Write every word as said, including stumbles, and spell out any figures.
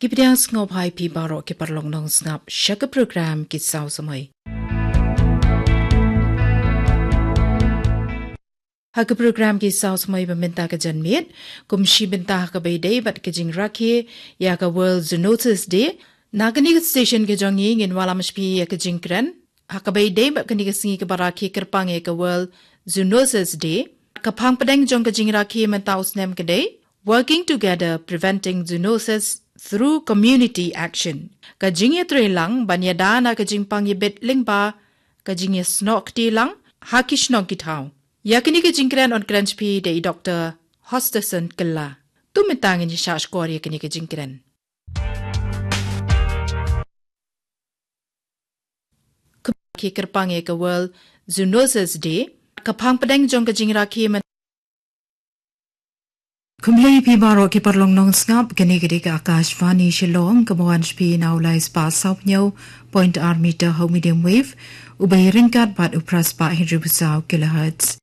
Ïa pdiang sngewbha ïa phi baroh ki paralok nongsngap sha ka program Ki Saw Samoi. Ha ka program Ki Saw Samoi ba mynta ka janmiet, kum shi bynta ha kaba ïadei bad ka jingrakhe ïa ka World Zoonosis Day, na kane ka station ka jong ngi ngin wallam sha phi ïa ka jingkren ha kaba ïadei bad kane ka sngi kaba rakhe kyrpang ïa ka World Zoonosis Day. Ka phang pdeng jong ka jingrakhe mynta u snem ka dei Working Together, Preventing Zoonosis Through Community Action. Ka jingïatreilang ban ïada na ka jingpang ïabit lyngba ka jingïasnoh kti lang ha ki shnong ki thaw. Ïa kane ka jingkren yn kren sha phi da i Doktor Hosterson Kylla. To mynta ngin ïa shah shkor ïa kane ka jingkren. Rakhe kyrpang ïa ka World Zoonosis Day, ka phang pdeng jong ka jingrakhe mynta. Khublei ïa phi baroh ki paralok nongsngap, kane ka dei ka Akashvani Shillong, kaba wan sha phi na u lai spah saw phew point ar meter ha u medium wave, uba ïaryngkat bad u phra spah hynriew phew saw kilohertz.